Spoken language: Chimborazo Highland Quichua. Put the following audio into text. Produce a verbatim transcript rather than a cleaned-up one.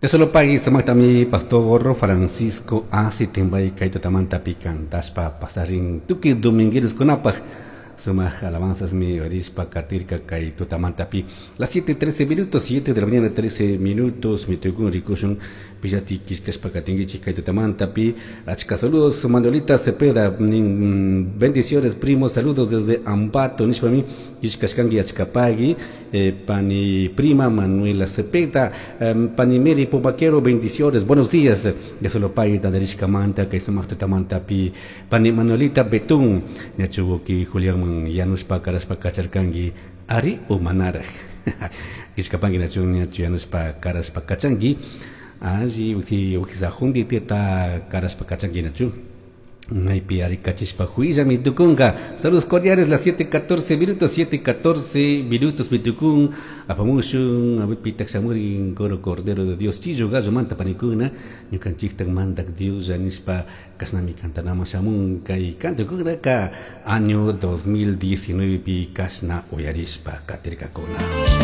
Solo pagui sumaktami pastor Francisco Asi timbay kay tutamantapi kantashpa pasarin tukuy domingueroskunapaj sumak alabanzas mi orishpa katirka kay tutamantapi las siete trece minutos, siete de la mañana trece minutos, mi tukun rikushun pillati kishkashpa katinkichik kay tutamantapi. Achka saludos Manuelita Cepeda nin, bendiciones primo, saludos desde Ambato nishpami kishkashkanki achkapagui eh, pani prima Manuela Cepeda, eh, pani Mary Pomaquero, bendiciones, buenos días ya solo pagui tandarishkamanta kay sumak tutamantapi. Pani Manuelita Betún ñachuki Julián yanushpa karashpa kacharkanki ari o manaraj kishkapanki nachun ñachu yanushpa karashpa kachanki alli uji ujisajundi teta karashpa kachanki nachu maypi ari kachishpa huillami tukunka. Saludos cordiales, las siete catorce minutos, siete catorce minutos mitukun apamushun apitak shamurin coro Cordero de Dios chillo gallo manta panikuna ñukanchiktan mandak Dios nishpa kashnami kantanama shamun kay kantukunaka año dos mil diecinueve pi kashna uyarishpa katirkakuna.